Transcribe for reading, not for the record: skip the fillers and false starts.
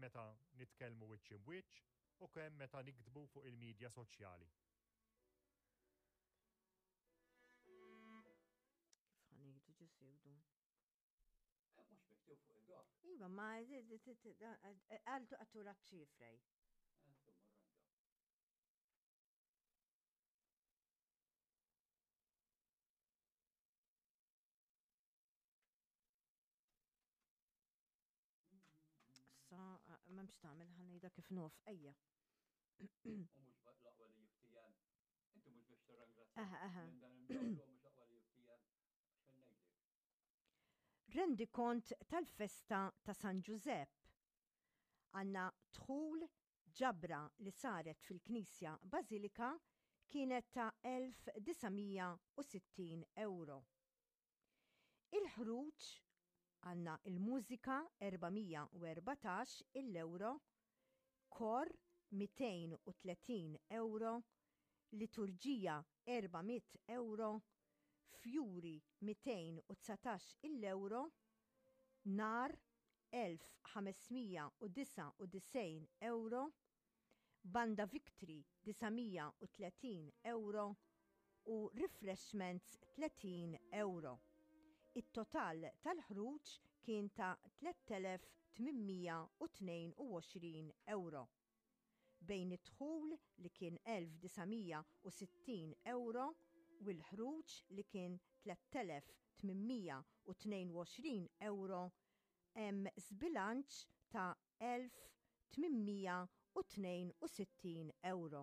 meta nitkellmu wiċċ imb'wiċċ u kemm meta niktbu fuq il-midja soċjali. Kif ħa ngħidu ġisiwdu? Mhux miktub fuq il-dok. Iva, ma għaltu għattura ċifrej. Sa, memx tagħmel ħanejda kif nuf, ejja. U mhux l-aqwa li jiftijem. Inti mhux biex tirrangrazzja. Aha, aha. Mhux l-aqwa li jiftijem. Xejn ngħidlek. Rendikont tal-festa ta' San Ġużepp. Għandna dħul ġabra li saret fil-Knisja Bażilika kienet ta' 1960 ewro. Il-ħruġ għandna il-mużika 414 il-ewro, kor 230 ewro, liturġija 400 ewro, fjuri 219 il-ewro, nar 1599 ewro, Banda Victory 930 ewro u refreshments 30 ewro. It-total tal-ħruġ kien ta' 3822 ewro. Bejn id-dħul li kien 1960 ewro u l-ħruġ li kien 3822 ewro hemm żbilanċ ta' 1862 ewro.